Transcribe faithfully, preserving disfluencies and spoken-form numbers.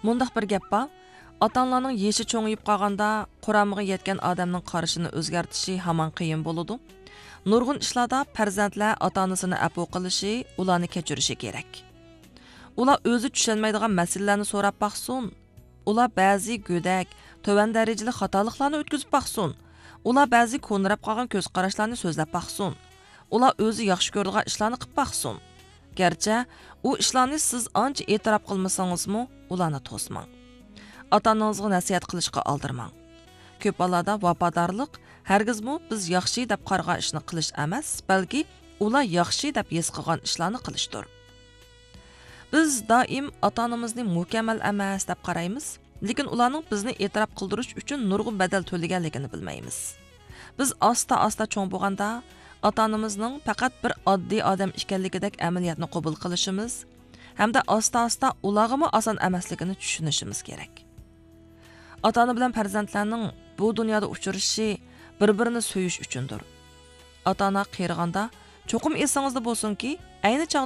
مۇنداق بىر گەپ بار، ئاتا-ئانىلارنىڭ يېشى چوڭىيىپ قالغاندا، قۇرامىغا يەتكەن ئادەمنىڭ قارىشىنى ئۆزگەرتىشى ھامان قىيىن بولىدۇ. نۇرغۇن ئىشلاردا پەرزەنتلەر ئاتا-ئانىسىنى ئەپۇ قىلىشى، ئۇلارنى كەچۈرۈشى كېرەك. ئۇلار ئۆزى چۈشەنمەيدىغان مەسىلىلەرنى سوراپ باقسۇن. ئۇلار بەزى گۆدەك، تۆۋەن دەرىجىلىك خاتالىقلارنى ئۆتكۈزۈپ باقسۇن. ئۇلار بەزى كونىراپ قالغان كۆز قاراشلارنى سۆزلەپ باقسۇن. ئۇلار ئۆزى ياخشى كۆرىدىغان ئىشلارنى قىلىپ باقسۇن. گەرچە ئۇ ئىشلارنى سىز ئانچە ئېتىراپ قىلمىسىڭىزمۇ، ئۇلارنى توسماڭ. ئاتا-ئانىڭىزغا نەسىھەت قىلىشقا ئالدىرىماڭ. كۆپ ھاللاردا ۋاپادارلىق ھەرگىزمۇ بىز ياخشى دەپ قارىغان ئىشنى قىلىش ئەمەس، بەلكى ئۇلار ياخشى دەپ ھېس قىلغان ئىشلارنى قىلىشتۇر. بىز دائىم ئاتا-ئانىمىزنى مۇكەممەل ئەمەس دەپ قارايمىز، لېكىن ئۇلارنىڭ بىزنى ئېتىراپ قىلدۇرۇش ئۈچۈن نۇرغۇن بەدەل تۆلىگەنلىكىنى بىلمەيمىز. بىز ئاستا-ئاستا چوڭ بولغاندا، ئاتا-ئانىمىزنىڭ پەقەت بىر ئاددىي ئادەم ئىكەنلىكىدەك ئەمەلىيەتنى قوبۇل قىلىشىمىز ھەمدە ئاستا-ئاستا ئۇلارغىمۇ ئاسان ئەمەسلىكىنى چۈشىنىشىمىز كېرەك. ئاتا-ئانا بىلەن پەرزەنتلەرنىڭ بۇ دۇنيادا ئۇچرىشىشى بىر-بىرىنى سۆيۈش ئۈچۈندۇر. ئاتا-ئانا قېرىغاندا، چوقۇم ئېسىڭىزدە بولسۇنكى، ئەينى چاغدا